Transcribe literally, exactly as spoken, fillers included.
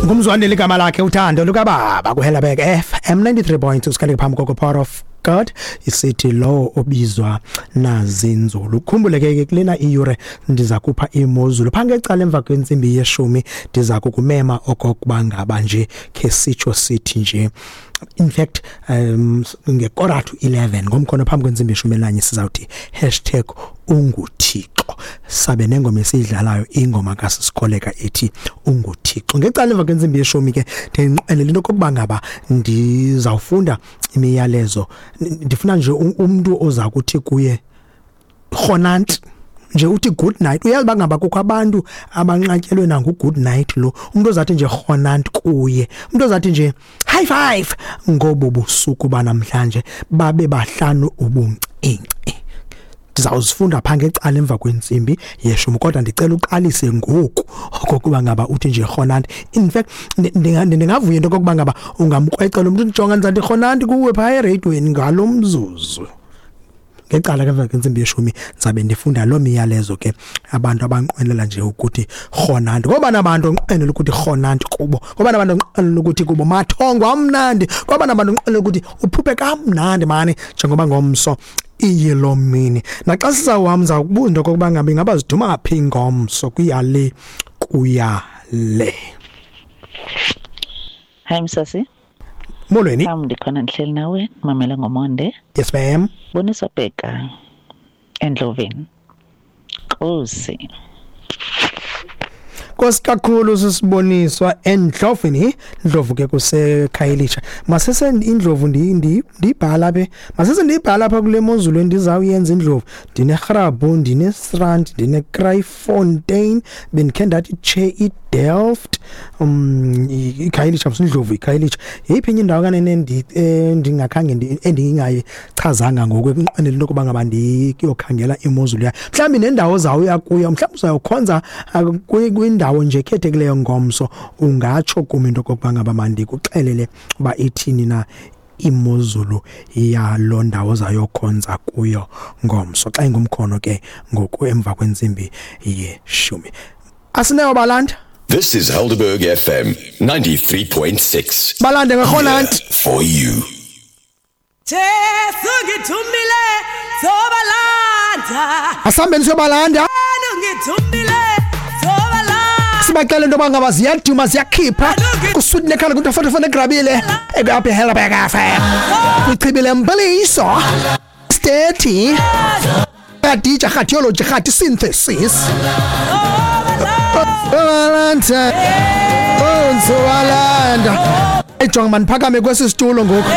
Ngumzwandile igama lakhe, uthando lukababa kuHelabek F M ninety-three point two. Sikhale phambi koko Power of God isithi lo obizwa nazinzulu. Ukhumbule ke, kulena iyure ndiza kupha imozulu phaa ngecala emva kwentsimbi yeshumi. Ndiza kukumema okokuba ngaba nje khe sitsho sithi nje, in fact, um ngekora to eleven ngomkhono phambi kwentsimbi yeshumi elinanye, sizawuthi hashtag unguThixo, sabe nengoma esiyidlalayo, ingoma kaSisikoleka ethi "Unguthixo". Ngecala emva kwentsimbi yeshumi ke ndinqwenela into okokuba ngaba ndizawufunda imiyalezo. Ndifuna nje umntu oza kuthi kuye rhonanti nje, uthi good night. Uyazi uba ngaba kukho abantu abanqatyelwe nangu good night lo umuntu ozathi nje rhonanti kuye, umuntu ozathi nje high five ngobo busuku banamhlanje, babe bahlanu ubuncinci. Ndizawuzifunda phaa ngecala emva kwentsimbi yeshumi, kodwa ndicela uqalise ngoku okokuba ngaba uthi nje rhonanti. In fact, ndingavuya into okokuba ngaba ungamkrwecela umntu, ndijonga ndizathi rhonanti kuwe phaa ereyidweni ngalo mzuzu. Ngecala ke emva kwentsimbi yeshumi ndizabe ndifunda loo miyalezo ke, abantu abanqwenela nje ukuthi rhonanti, ngoba nabantu onqwenela ukuthi rhonanti kubo, ngoba nabantu onqwenela ukuthi kubo mathongo amnandi, ngoba nabantu onqwenela ukuthi uphuphe kamnandi mani, njengoba ngomso iyilo mini. Naxa sizawuhamba ndiza kubuza into okokuba ngabe ingaba ziduma phi ngomso, kuya le kuya le. Hi Msasi. Molweni. Sam, ndikhona, ndihleli nawe, mamela ngomonde. Yes ma'am. Boniswa Bheka eNdloveni. Nkosi. Nkosi kakhulu sisiboniswa eNdloveni. Ndlovu ke kuseKhayelitsha. Masese indlovu ndiyibhala be. Masese ndiyibhala apha kule mozulu endizawuyenza indlovu. NdineGrabhu, ndineStrand, ndineKraaifontein, bendikhe ndathi tshe iDelft, um iKhayelitsha, Indlovu iKhayelitsha. Yeyiphi enye indawo kanene endingakhange endingayichazanga ngoku ekunqwenela into yokuba ngaba ndiyokhangela imozulu yayo? Mhlawumbi nendawo zawuya kuyo, mhlawumbi uzawukhonza kwindawo nje ekhethekileyo ngomso, ungatsho kum into okokuba ngaba mandikuxelele uba ithini na imozulu yaloo ndawo zayokhonza kuyo ngomso, xa ingumkhono ke ngoku emva kwentsimbi yeshumi. Asineyo balanda. This is Helderberg F M ninety-three point six. Balande ngerhonanti. For you. Jesu ngithumile sobalanda. Asihambeni siyobalanda. Ngithumile sobalanda. Sibacela into yoba ngaba ziyaduma, ziyakhipha kuswiti nekhala kuntofotofo negrabile ekapha eHelberg F M kwichibi lempiliso stethi kadija radiology radi synthesis. Balanda, onzowalanda, ejonga, mandiphakame kwesi situlo ngoku.